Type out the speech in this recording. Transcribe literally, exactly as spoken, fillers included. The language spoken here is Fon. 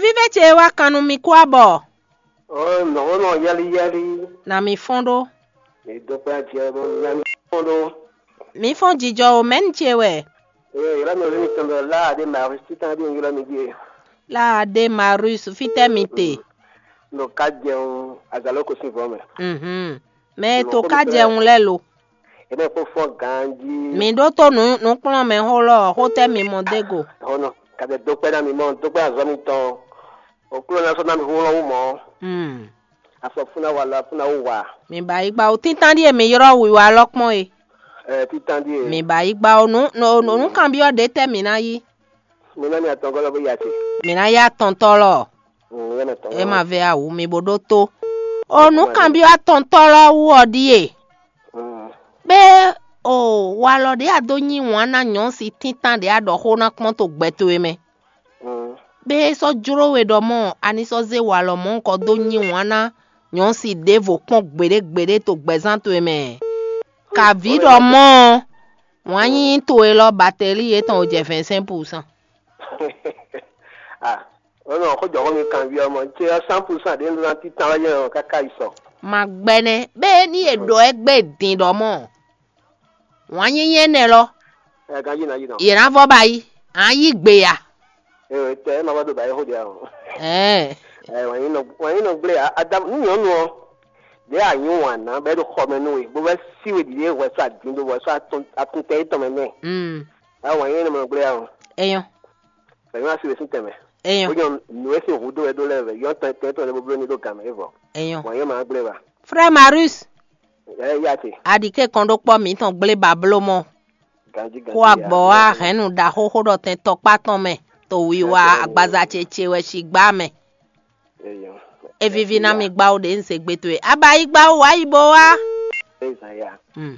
Vívɛ ce wá kan nú mi kú abɔ. Ɔ́, nɔ̌ nɔ yɛ́lí yɛ́lí. Na mi fɔ́n ɖó. Mi dó kpé ajɛ bó nya mi fɔ́n ɖó. Mi fɔ́n jijɔ o, mɛ̌ni ce wɛ? Ee, ylɔ́ mi ví mitɔn ɖɔ Láa ɖé Maris títán ɖé un ylɔ́ mi ɖíe. Láa ɖé Maris, fítɛ́ mi te? Nɔ ká jɛun azalóko sín vɔ̌ mɛ. Mhm. Mɛ e to ká jɛun lɛ́ɛ lo? È nɔ kpó fɔ́n ganjí. Mi ɖótó nǔ nǔkplɔ́nmɛxó lɔ xótɛ́ mi mɔ dó go? Hɔnɔ, kàdé dó kpɛ́ ná mi mɔ dó kpɛ́ azɔ̌ mitɔn. Òkúlɔ ná sɔ́ ná mi hlɔ́n wú mɔ̌. Mm. Afɔ fún ná wa la fún ná wú wa. Mi ba yi gba o títán ɖíe mi ylɔ́ wiwa lɔ kpɔ́n e. Ɛ títán ɖíe. Mi ba yi gba o nǔ nǔ nǔ kanbyɔ́ ɖě tɛ́ mi ná yí? Mi ná mi atɔngɔ́ lɔ bó ya ce. Mi ná yá tɔntɔ́ lɔ. Mm, yá mi atɔngɔ́. E ma vɛ awu mi bo ɖó tó. O nǔ kanbyɔ́ atɔntɔ́ lɔ wú ɔ ɖíe. Mm. Bé o walɔ ɖě a dó nyi wǎn ná nyɔ̌si tíntan ɖě a ɖɔ xó ná kpɔ́n to gbɛ towe mɛ. Mm. Bé é sɔ́ jló we ɖɔ mɔ̌ a ní sɔ́ zé walɔ mɔ̌hunkɔ dó nyi wǎn ná nyɔ̌si ɖěvo kpɔ́n gbeɖé gbeɖé to gbɛzán towe mɛ. Kavǐ ɖɔ mɔ̌ ɔ́, wǎn nyínyí towe lɔ bateli yětɔn o jɛ vɛ̌nsɛ́n pusan. Ah, ɔnɔ xó jɔ xó mi kanbyɔ́ mɔ ce ɔ́ cent pour cent ɖě un ɖó ná títán wɛ jɛ́n ɔ́ káká yi sɔ. Ma gbɛnɛ bé ní è ɖɔ ɛ gbé din ɖɔ mɔ̌. Wǎn nyínyí énɛ́ lɔ, Ɛ ganjí ná yi nɔ. Yě ná vɔ ba yi, a yí gbe ya. Ee tɛ ɛ ma vɔ do ba yi xó dia o. Ɛɛ. Ɛ wǎn nyí nɔ wǎn nyí nɔ gblé a ada ní nyɔ̌nu ɔ́. Ɖě a nyí wǎn ná bɔ é ɖo xɔ mɛ nú we bó vɛ́ sí we ɖiɖe hwɛ sɔ́ adǐn ɖó hwɛ sɔ́ atɔn atɔntɛ étɔn mɛ nɛ. Mm. Ɛ wǎn nyí nɔ mɛ gblé a o. Eyɔn. Bɛ̌ nyɔ́ asi we sín tɛnmɛ. Eyɔn. Bó nyɔ́ nǔ e sín hǔ dó wɛ dó lɛ́ɛ vɛ yɔ́n tɔn tɛn tɔn ɖé bó bló ní ɖó gǎn mɛ é vɔ. Eyɔn. Wǎn nyí ma gblé ba. Frère Marius. Ɛ yá te. Aɖi ké kɔn ɖó kpɔ́ mǐtɔn gblé ba bló mɔ. Ganjí ganjí. Kó agbɔ wá hɛ̌nnu ɖaxó xó ɖɔ tɛn tɔkpá tɔn mɛ. To wiwa agbaza ce ce wɛ si gbá mɛ. Eyɔn. É víví ná mi gbá wo ɖě un se gbe towe. Aba yi gbá wo wá yi bo wá. Eza ya. Hmm.